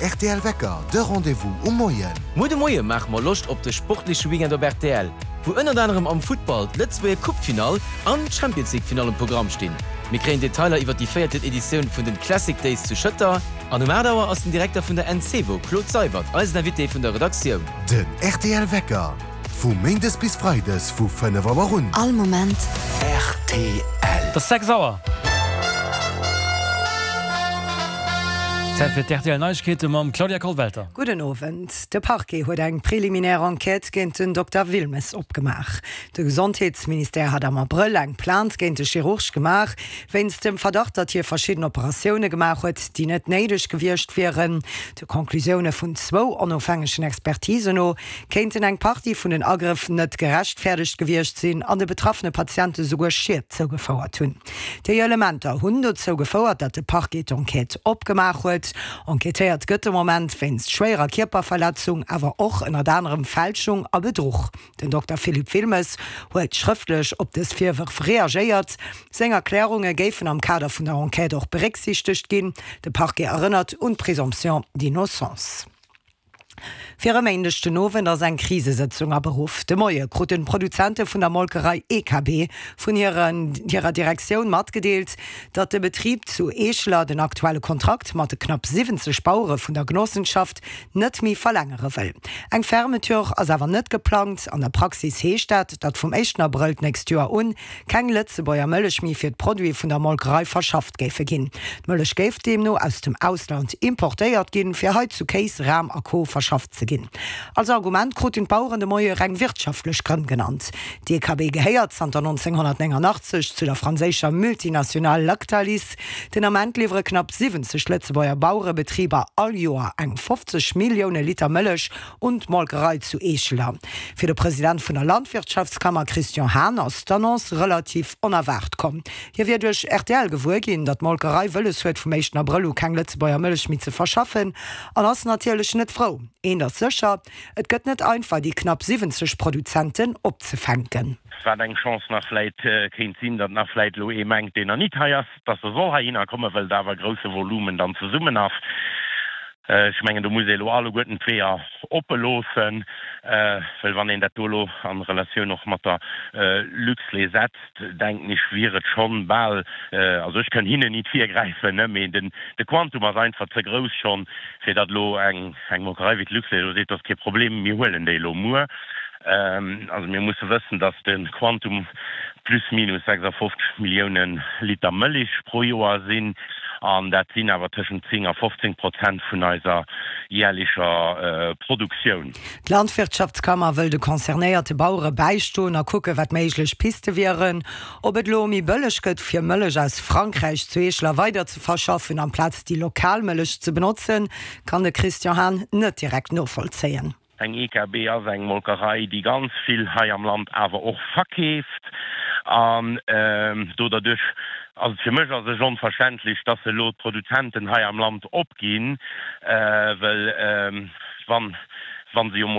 rtl Wecker, de Rendez-vous um Moien. Muer de Moie maache mer Loscht op de sportleche Weekend op rtl, wou ënnert anerem am Futtball d'Lëtzebuerger Coupe-Finall an d'Champions League-Finall um Programm stinn. Mir kréien Detailer iwwer déi véierten Editioun vun den Classic Days zu Schëtter an um 8 Auer ass den Direkter vun der Encevo, Claude Seywert, eisen Invité vun der Redaktioun. Den rtl Wecker, vu Méindes bis Freides vu 5 Auer un. All Moment. Rtl. Et ass 6 Auer. Zäit fir d'RTL Neiegkeete mam Claudia Kollwelter. Gudden Owend. De Parquet huet eng preliminär Enquête géint den Dokter Wilmes opgemaach. De Gesondheetsministère hat am Abrëll eng Plainte géint de Chirurg gemaach, wéinst dem Verdacht, datt hie verschidden Operatioune gemaach huet, déi net néideg gewiescht wieren. De Conclusioune vun zwou onofhängegen Expertisen no kéinten eng Partie vun den Agrëff net gerechtfäerdegt gewiescht sinn an de betraffene Patiente souguer Schied zougefouert hunn. Déi Elementer hunn dozou gefouert, datt de Parquet d'Enquête opgemaach huet. Enquêtéiert gëtt de Moment wéinst schwéierer Kierperverletzung, awer och ënnert anerem Fälschung a Bedruch. Den Dokter Philippe Wilmes huet schrëftlech op dës Virwërf reagéiert. Seng Erklärunge géifen am Kader vun der Enquête och berécksiichtegt ginn. De Parquet erënnert un d'Présomption d'innocence. Fir e Méindeg den Owend ass eng Krisesëtzung aberuff. De Moie kruten d'Produzente vun der Molkerei EKB vun hirer Direktioun matgedeelt, datt de Betrib zu Eescheler den aktuelle Kontrakt mat de knapp 70 Bauere vun der Genossenschaft net méi verlängere wëll. Eng Fermeture ass awer net geplangt. An der Praxis heescht dat, datt vum éischten Abrëll d'nächst Joer un keng Lëtzebuerger Mëllech méi fir d'Produite vun der Molkerei verschafft géife ginn. D'Mëllech géif deemno aus dem Ausland importéiert ginn, fir hei zu Kéis, Ram a Co. Verschafft ze ginn. Als Argument kruten d'Baueren de Moie reng wirtschaftlech Grënn genannt. D'EKB gehéiert zanter 1989 zu der franséischer Multinationale Lactalis. Den Ament liwwere knapp 70 Lëtzebuerger Bauerebetriber all Joer eng 50 Millioune Liter Mëllech un d'Molkerei zu Eescheler. Fir de President vun der Landwirtschaftskammer Christian Hahn ass d'Annonce relativ onerwaart komm. Hie wier duerch rtl gewuer ginn, datt d'Molkerei wëlles huet vum éischten Abrëll u keng Lëtzebuerger Mëllech méi ze verschaffen an ass natierlech net frou. Eent ass sécher, et gëtt net einfach déi knapp 70 Produzenten opzefänken. Wat eng Chance nach vläit kéint sinn, datt nach vläit elo ee mengt, deen nach nit hei ass, datt e soll heihinner kommen, well et awer e grousse Volumen dann zesummen ass. Ech mengen, do muss ee elo alleguerten d'Weeër oppe loossen, well wann een dat do elo a Relatioun och mat der Luxlait setzt, denken ech, wier et schonn bal, also ech kënn hinnen nit virgräifen, ne, mee den, de Quantum ass einfach ze grouss schonn, fir datt elo eng, eng Molkerei wéi d'Luxlait elo seet, dat ass kee Problem, mir huelen déi elo muer. Also mir musse wëssen, datt de Quantum plus minus 56 Millioune Liter Mëlich pro Joer sinn, an dat sinn awer tëschent 10 a 15 Prozent vun eiser jäerlecher Produktioun. D'Landwirtschaftskammer wëll de concernéierte Bauere bäistoen a kucke wat méiglech Piste wieren. Ob et elo méi bëlleg gëtt fir Mëllech aus Frankräich zu Eescheler weider ze verschaffen amplaz déi lokal Mëllech ze benotzen, kann de Christian Hahn net direkt novollzéien. Eng EKB ass eng Molkerei, déi ganz vill hei am Land awer och verkeeft. An do derduerch ass et fir mech a sech onverständlech, dass se elo d'Produzenten hei am Land opginn, well wann, wa se jo mol.